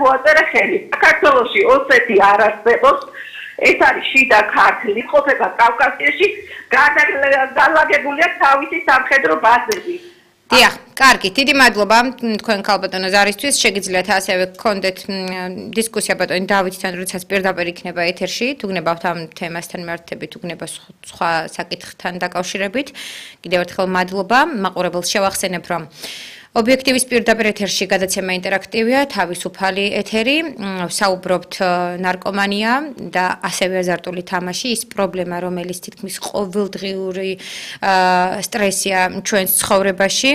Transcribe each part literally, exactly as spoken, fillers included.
მოაწერა ხელი. საქართველოში ოსეთი არ არსებობს. ეს არის შიდა ქართლი, ყოფება კავკასიაში, განლაგებულია თავისი სამხედრო ბაზები. დიახ, კარგი, დიდი მადლობა თქვენ ქალბატონო ზარისთვის. შეგიძლიათ ასევე გქონდეთ დისკუსია ბატონი დავითთან, როდესაც პირდაპირ იქნება ეთერში, თუ გნებავთ ამ თემასთან მიმართებით, თუ გნება სხვა საკითხთან დაკავშირებით. კიდევ ერთხელ მადლობა. მაყურებელს შევახსენებ, რომ ობიექტივის პირდაპირ ეთერში გადაცემა ინტერაქტივია, თავისუფალი ეთერი, საუბრობთ ნარკომანია და ასევე აზარტული თამაში, ის პრობლემა, რომელიც თითქმის ყოველდღიური სტრესია ჩვენს ცხოვრებაში,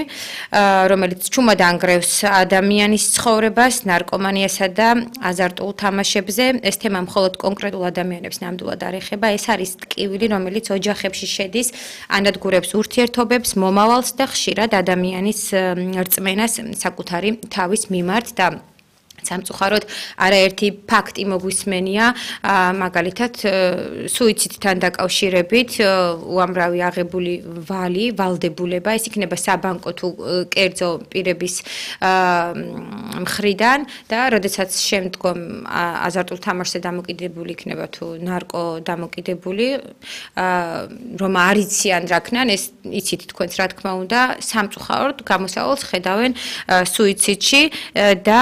რომელიც ჩუმად ანგრევს ადამიანის ცხოვრებას, ნარკომანიასა და აზარტულ თამაშებზე. ეს თემა მხოლოდ კონკრეტულ ადამიანებს ნამდვილად არ ეხება, ეს არის ტკივილი, რომელიც ოჯახებში შედის, ანადგურებს ურთიერთობებს, მომავალს და ხშირად ადამიანის რწმენას საკუთარი თავის მიმართ და სამწუხაროდ არაერთი ფაქტი მოგვისმენია, მაგალითად სუიციდთან დაკავშირებით, უამრავი აღებული ვალი, ვალდებულება, ეს იქნება საბანკო თუ კერძო პირების მხრიდან და როდესაც შემდგომ აზარტულ თამაშზე დამოკიდებული იქნება თუ ნარკო დამოკიდებული, რომ არ იციან რა ქნან, ეს იცით თქვენც რა თქმა უნდა, სამწუხაროდ გამოსავალს ხედავენ სუიციდში და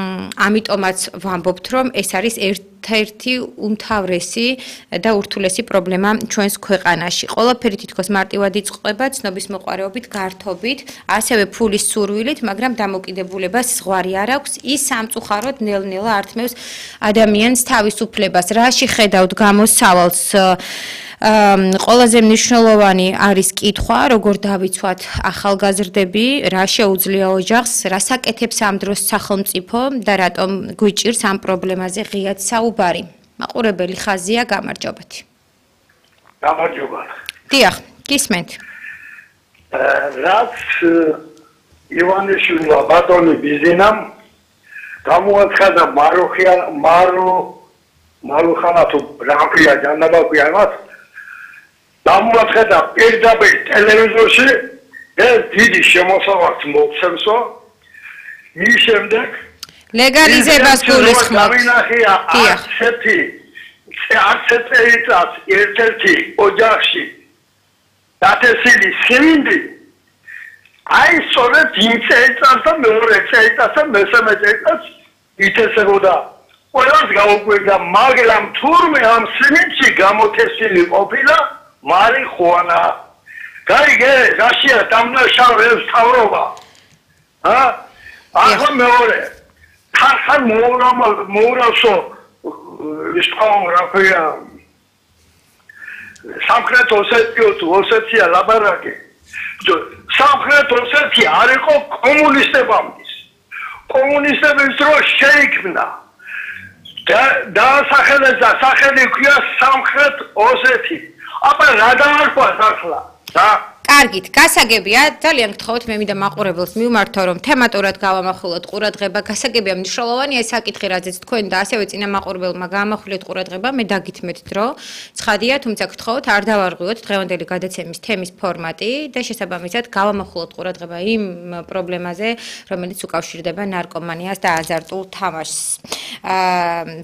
ამიტომაც ვამბობთ, რომ ეს არის ერთ-ერთი უმთავრესი და ურთულესი პრობლემა ჩვენს ქვეყანაში. ყველაფერი თითქოს მარტივად იწყება ცნობის მოყვარეობით, გართობით, ასევე ფულის სურვილით, მაგრამ დამოკიდებულებას ზღვარი არ აქვს. ის სამწუხაროდ ნელ-ნელა ართმევს ადამიანს თავისუფლებას. რაში ხედავთ გამოსავალს? ყველაზე მნიშვნელოვანი არის კითხვა, როგორ დავიცვათ ახალგაზრდები, რა შეუძლია ოჯახს, რას აკეთებს ამ დროს სახელმწიფო და რატომ გვიჭირს ამ პრობლემაზე ღიად საუბარი. მაყურებელი ხაზია, გამარჯობათ. გამარჯობა. დიახ, გისმენთ. რაც ივანიშვილმა ბატონი ბიზინამ გამოაცხადა მაროხია მარო მაროხანა თუ რამფია ჯანდაბაკვია მას გამოაცხადა პირდაპირ ტელევიზორში ეს დიდი შემოსავალს მოხსენსო მის შემდეგ ლეგალიზებას გულისხმობთ. გამინახია არცეთი არცეთი წელიწად ერთ-ერთი ოჯახში დათესილი სიმინდი აი სწორედ იმ წელიწადს და მეორე წელიწადს და მესამე წელიწადს ითესებოდა ყველას გაუკვირდა, მაგრამ თურმე ამ სიმინდში გამოთესილი ყოფილა მარიხუანა. გაიგე, რაშია დამნაშავეებს თავრობა? ა? ახლა მეორე. ხან მოურავ მოურავსო ის რა ქვია სამხრეთ ოსეთიო თუ ოსეთია ლაბარაკი. სამხრეთ ოსეთია არ იყო კომუნისტებამდე. კომუნისტების დროს შეიქმნა და დაასახელეს და სახელი ჰქვია სამხრეთ ოსეთი. აბა რა დაარქვას ახლა? და კარგით, გასაგებია, ძალიან გთხოვთ მე მინდა მაყურებელს მივმართო, რომ თემატურად გავამახვილოთ ყურადღება, გასაგებია მნიშვნელოვანია ეს საკითხი, რაზეც თქვენ და ასევე წინა მაყურებელმა გაამახვილეთ ყურადღება, მე დაგითმეთ დრო. ცხადია, თუმცა გთხოვთ, არ დავარღვიოთ დღევანდელი გადაცემის თემის ფორმატი და შესაბამისად გავამახვილოთ ყურადღება იმ პრობლემაზე, რომელიც უკავშირდება ნარკომანიას და აზარტულ თამაშს.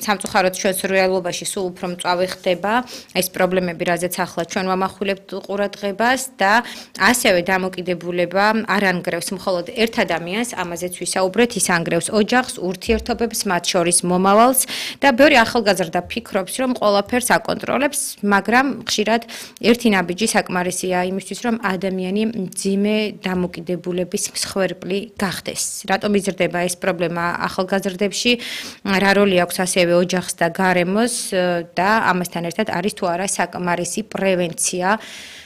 სამწუხაროდ ჩვენს რეალობაში სულ უფრო მწვავე ხდება ეს პრობლემები, რაზეც ახლა ჩვენ ვამახვილებთ ყურადღებას და ასევე დამოკიდებულება არ ანგრევს მხოლოდ ერთ ადამიანს, ამაზეც ვისაუბრეთ, ის ანგრევს ოჯახს, ურთიერთობებს, მათ შორის მომავალს და ბევრი ახალგაზრდა ფიქრობს, რომ ყველაფერს აკონტროლებს, მაგრამ ხშირად ერთი ნაბიჯი საკმარისია იმისთვის, რომ ადამიანი მძიმე დამოკიდებულების მსხვერპლი გახდეს. რატომ იზრდება ეს პრობლემა ახალგაზრდებში? რა როლი აქვს ასევე ოჯახს და გარემოს და ამასთან ერთად არის თუ არა საკმარისი პრევენცია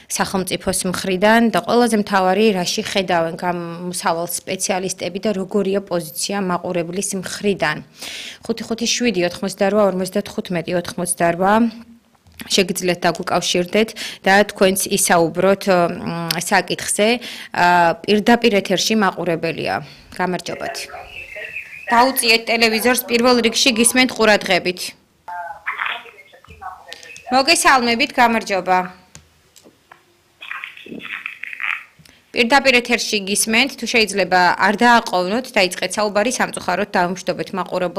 სახელმწიფოს მხრიდან და ყველაზე მთავარი რაში ხედავენ გამოსავალ სპეციალისტები და როგორია პოზიცია მაყურებლის მხრიდან. ხუთი ხუთი შვიდი ოთხმოცდარვა ორმოცდათხუთმეტი ოთხმოცდარვა შეგიძლიათ დაგვიკავშირდეთ და თქვენც ისაუბროთ საკითხზე პირდაპირ ეთერში მაყურებელია. გამარჯობათ. დაუწიეთ ტელევიზორს პირველ რიგში გისმენთ ყურადღებით. მოგესალმებით, გამარჯობა. პირდაპირ ეთერში გისმენთ, თუ შეიძლება არ დააყოვნოთ, დაიწყეთ საუბარი, სამწუხაროდ დავიმშვიდობეთ მაყურებელს.